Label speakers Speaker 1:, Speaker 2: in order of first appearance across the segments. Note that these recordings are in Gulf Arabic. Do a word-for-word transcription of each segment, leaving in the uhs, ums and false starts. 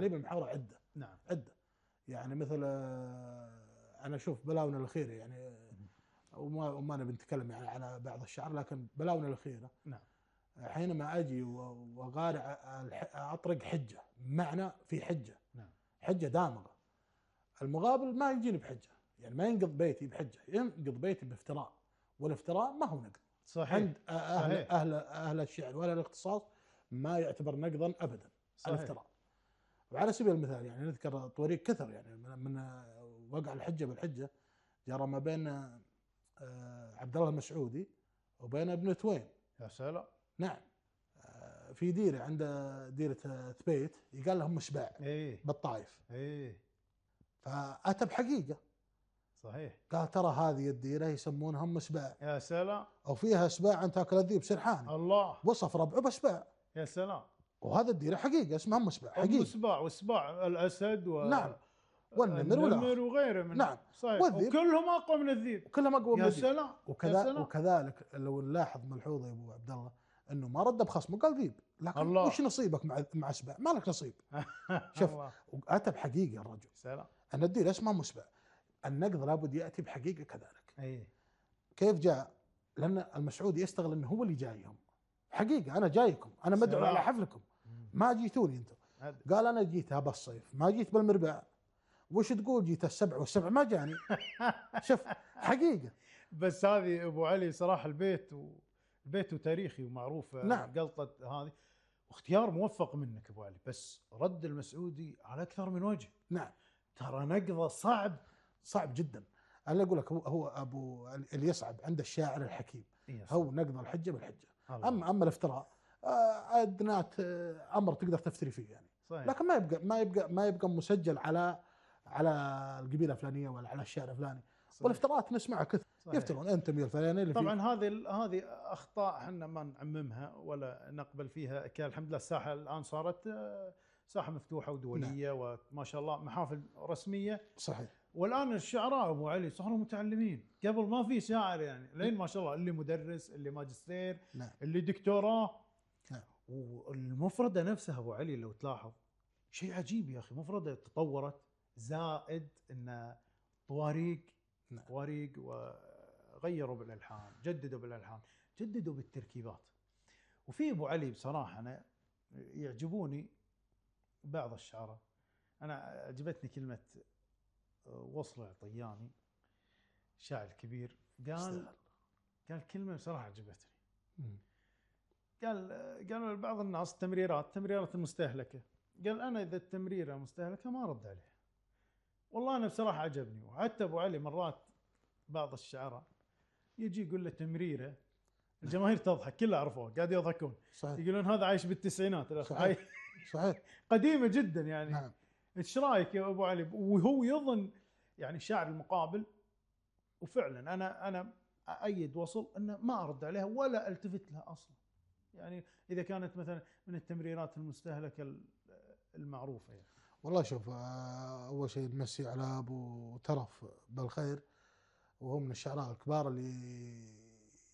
Speaker 1: اساليب المحاوره عده.
Speaker 2: نعم
Speaker 1: عده يعني مثل انا اشوف بلاونا الاخيره يعني وما وما نبي نتكلم يعني على بعض الشعر، لكن بلاونا الاخيره
Speaker 2: نعم
Speaker 1: حينما اجي وغارع اطرق حجه معنى في حجه
Speaker 2: نعم
Speaker 1: حجه دامغه، المقابل ما يجيني بحجه، يعني ما ينقض بيتي بحجه، ينقض بيتي بافتراء، والافتراء ما هو نقد.
Speaker 2: صحيح
Speaker 1: عند اهل
Speaker 2: صحيح
Speaker 1: اهل اهل الشعر ولا الاختصاص ما يعتبر نقضا ابدا
Speaker 2: صحيح.
Speaker 1: الافتراء. وعلى سبيل المثال يعني نذكر طريق كثر يعني من وقع الحجه بالحجه جرى ما بين عبد الله المسعودي وبين ابن توين.
Speaker 2: يا سلام.
Speaker 1: نعم في ديره عند ديره ثبيت يقال لهم مسباع
Speaker 2: ايه
Speaker 1: بالطائف.
Speaker 2: ايه
Speaker 1: فاتى بحقيقه
Speaker 2: صحيح.
Speaker 1: قال ترى هذه الديره يسمونهم مسباع.
Speaker 2: يا سلام.
Speaker 1: او فيها سباع تاكل الذيب سرحاني.
Speaker 2: الله.
Speaker 1: وصف ربعه بسباع.
Speaker 2: يا سلام.
Speaker 1: وهذا الديره حقيقه اسمها مسباع
Speaker 2: حقيقه. مسباع وسباع الاسد و
Speaker 1: نعم والنمر والنمر
Speaker 2: وغيره من
Speaker 1: نعم
Speaker 2: صحيح. وكلهم اقوى من الذيب.
Speaker 1: كلهم اقوى من الذيب.
Speaker 2: يا سلام.
Speaker 1: وكذا سلام. وكذلك لو نلاحظ ملحوظه يا ابو عبد الله انه ما رد بخصمه قال ذيب، لكن الله. وش نصيبك مع مع سباع؟ ما لك نصيب. شوف اتى بحقيقه الرجل.
Speaker 2: سلام.
Speaker 1: ان الديره اسمها مسباع. النقد لابد ياتي بحقيقه كذلك.
Speaker 2: اي
Speaker 1: كيف جاء؟ لان المسعودي يستغل انه هو اللي جايهم. حقيقه انا جايكم، انا مدعو على حفلكم، ما جيتوني انتم. قال انا جيت هذا الصيف، ما جيت بالمربع. وش تقول جيت السبع والسبع ما جاني. شوف حقيقه.
Speaker 2: بس هذه ابو علي صراحه البيت والبيت تاريخي ومعروف.
Speaker 1: نعم.
Speaker 2: قلطه هذه واختيار موفق منك ابو علي، بس رد المسعودي على اكثر من وجه.
Speaker 1: نعم
Speaker 2: ترى نقضه صعب
Speaker 1: صعب جدا. انا اقول لك هو هو ابو اللي يصعب عند الشاعر الحكيم هو نقض الحجه بالحجه. الله. اما اما الافتراء ادنات امر تقدر تفتري فيه يعني. صحيح. لكن ما يبقى ما يبقى ما يبقى مسجل على على القبيله الفلانيه ولا على الشعر الفلاني. والافتراءات نسمعها كثر. يفترون انت من الفلاني اللي
Speaker 2: طبعا هذه هذه اخطاء احنا ما نعممها ولا نقبل فيها. كان الحمد لله الساحه الان صارت ساحه مفتوحه ودوليه. نعم. وما شاء الله محافل رسميه.
Speaker 1: صحيح.
Speaker 2: والان الشعراء ابو علي صاروا متعلمين، قبل ما في شاعر يعني لين ما شاء الله اللي مدرس اللي ماجستير.
Speaker 1: نعم.
Speaker 2: اللي دكتوراه.
Speaker 1: نعم.
Speaker 2: والمفرده نفسها ابو علي لو تلاحظ شيء عجيب يا اخي، مفرده تطورت زائد ان طواريق. نعم. طواريق وغيروا بالالحان، جددوا بالالحان، جددوا بالتركيبات. وفي ابو علي بصراحه انا يعجبوني بعض الشعراء. انا عجبتني كلمه وصل العطياني شاعر كبير قال استهل. قال كلمه بصراحه عجبتني. م. قال قالوا لبعض الناس تمريرات تمريرات المستهلكه، قال انا اذا التمريره مستهلكه ما ارد عليها. والله انا بصراحه عجبني. وحتى ابو علي مرات بعض الشعراء يجي يقول له تمريره الجماهير تضحك، كلها عرفوه قاعد يضحكون. صحيح. يقولون هذا عايش بالتسعينات.
Speaker 1: صحيح. صحيح.
Speaker 2: قديمه جدا يعني.
Speaker 1: نعم.
Speaker 2: ايش رايك يا ابو علي؟ وهو يظن يعني الشاعر المقابل، وفعلا انا انا ايد وصل انه ما ارد عليها ولا التفت لها اصلا. يعني اذا كانت مثلا من التمريرات المستهلكه المعروفه يعني.
Speaker 1: والله شوف اول شيء نمسي على ابو ترف بالخير، وهو من الشعراء الكبار اللي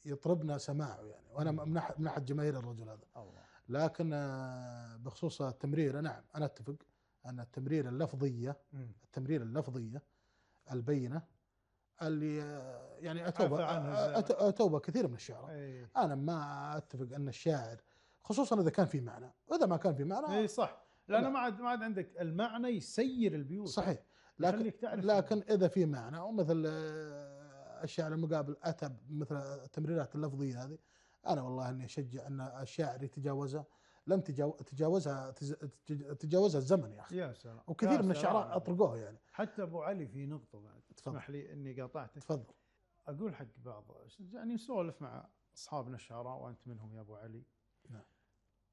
Speaker 1: يطربنا سماعه يعني، وانا من احد جماهير الرجل هذا. الله. لكن بخصوص التمريره نعم انا اتفق ان التمريره اللفظيه م. التمريره اللفظيه البينه اللي يعني اتوبه اتوبه كثير من الشعراء. أي. انا ما اتفق ان الشاعر خصوصا اذا كان في معنى، واذا ما كان في معنى
Speaker 2: اي صح، لانه ما عاد ما عاد عندك المعنى يسير البيوت.
Speaker 1: صحيح. لكن لكن اذا في معنى ومثل الشاعر المقابل اتى مثل التمريرات اللفظيه هذه، انا والله اني اشجع ان الشاعر يتجاوزها. لن تجاوزها تجاوزها الزمن يا اخي.
Speaker 2: يا سلام.
Speaker 1: وكثير يا من الشعراء اطرقوها يعني.
Speaker 2: حتى ابو علي في نقطه بعد تسمح لي اني قاطعتك.
Speaker 1: تفضل.
Speaker 2: اقول حق بعض يعني نسولف مع اصحابنا الشعراء وانت منهم يا ابو علي.
Speaker 1: نعم.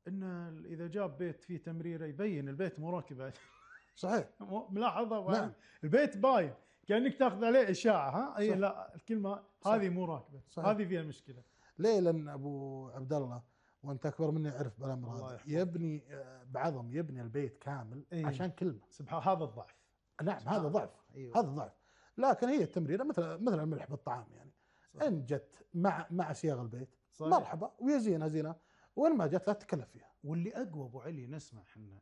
Speaker 2: ان اذا جاب بيت فيه تمريره يبين البيت مو راكب.
Speaker 1: صحيح.
Speaker 2: ملاحظه.
Speaker 1: نعم.
Speaker 2: البيت باين كانك تاخذ عليه اشاعه. ها اي لا الكلمه هذه مو راكبه. هذه فيها مشكله.
Speaker 1: ليه؟ لان ابو عبد الله وانت اكبر مني عرف بالامر هذا، يبني بعظم يبني البيت كامل. إيه؟ عشان كلمه.
Speaker 2: سبحان هذا الضعف.
Speaker 1: نعم هذا ضعف. أيوة. هذا ضعف. لكن هي التمريره مثل مثل الملح بالطعام يعني. صحيح. ان جت مع مع صياغ البيت صحيح. مرحبا ويزينها زينه، وين ما جت لا تتكلف فيها.
Speaker 2: واللي اقوى ابو علي نسمع احنا